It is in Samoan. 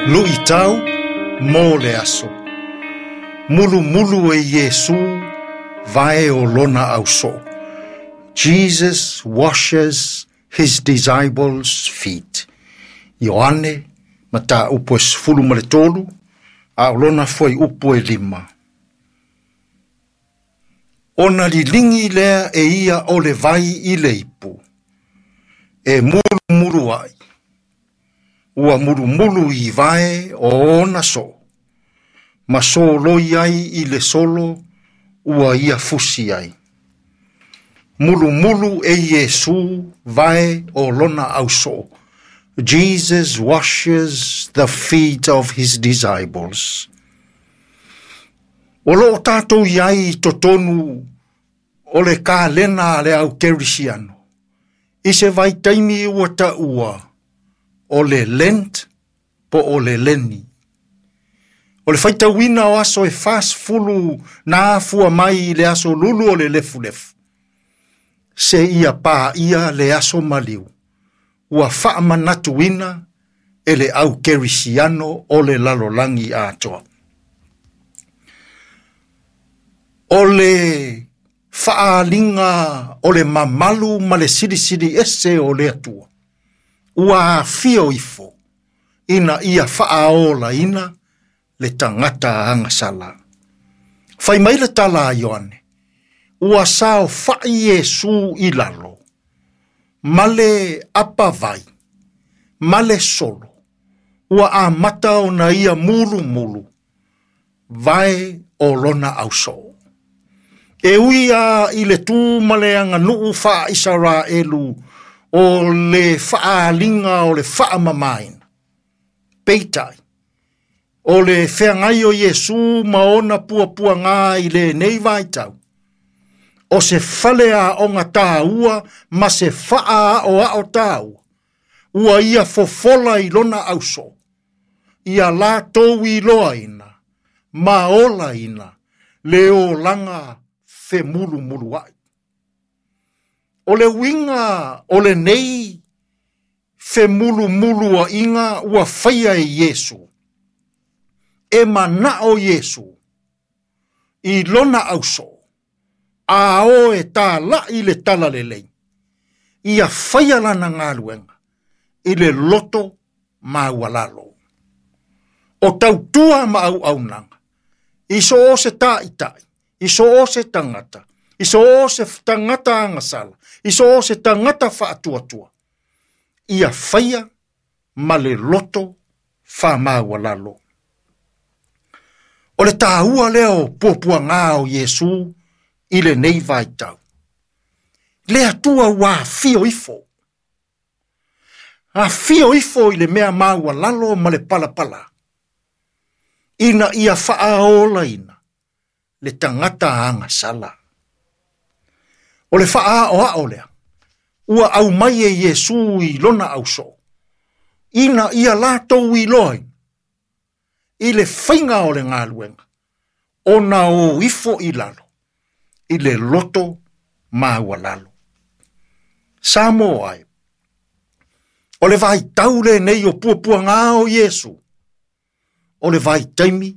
Luʻitau mo le aso. Mulumulu e Iesū vae o lona ausoo. Jesus washes his disciples' feet. Ioane, mataupu e 13, a o lona fuaiupu e 5. Ona liligi lea e ia o le vai i le ipu, e mulumulu ai. Ua mulumulu i vae o ona soo, ma soloi ai i le solo ua ia fusi ai. Mulumulu e Iesū vae o lona ausoo. Jesus washes the feet of his disciples. O loo tatou i ai i totonu o le kalena a le au kerisiano. I se vaitaimi ua taua o le Lent po o le Leni. O le faitauina o aso e 40 na afua mai i le aso lulu o le lefulefu. Seia paia le aso maliu. Ua faamanatuina e le au kerisiano o le lalolagi atoa. O le faaaliga o le mamalu ma le silisili ese o le Atua. Ua afio ifo ina ia faaolaina le tagata agasala. Fai mai le tala a Ioane, ua saofai Iesu i lalo, ma le apavai, ma le solo, ua amata ona ia mulumulu, vae o lona ausoo. E ui a i le tu ma le aganuu faa-Isaraelu o le faaaliga o le faamamaina. Peitai, o le feagai o Iesu ma ona puapuaga i lenei vaitau, o se fale aoga taua ma se faaaoao taua, ua ia fofola i lona ausoo, ia latou iloaina ma olaina le olaga femulumuluai. O le uiga o lenei femulumuluaiga ua faia e Iesu, e manao Iesu i lona ausoo, a o e talai le talalelei, ia faia lana galuega i le loto maualalo. O tautua ma auaunaga, i so o se taitai, i so o se tagata, i so o se tagata agasala, i so o se tagata faatuatua, ia faia ma le loto faamaualalo. O le taua lea o puapuaga o Iesu i lenei vaitau. Le Atua ua afio ifo. Afio ifo i le mea maualalo ma le palapala, ina ia faaolaina le tagata agasala. O le faaaoao lea, ua aumai e Iesu i lona ausoo, ina ia latou iloaina i le faiga o le galuega, ona o ifo i lalo, i le loto maualalo. Samoa ai, o le vaitau lenei o puapuaga o Iesu, o le vaitaimi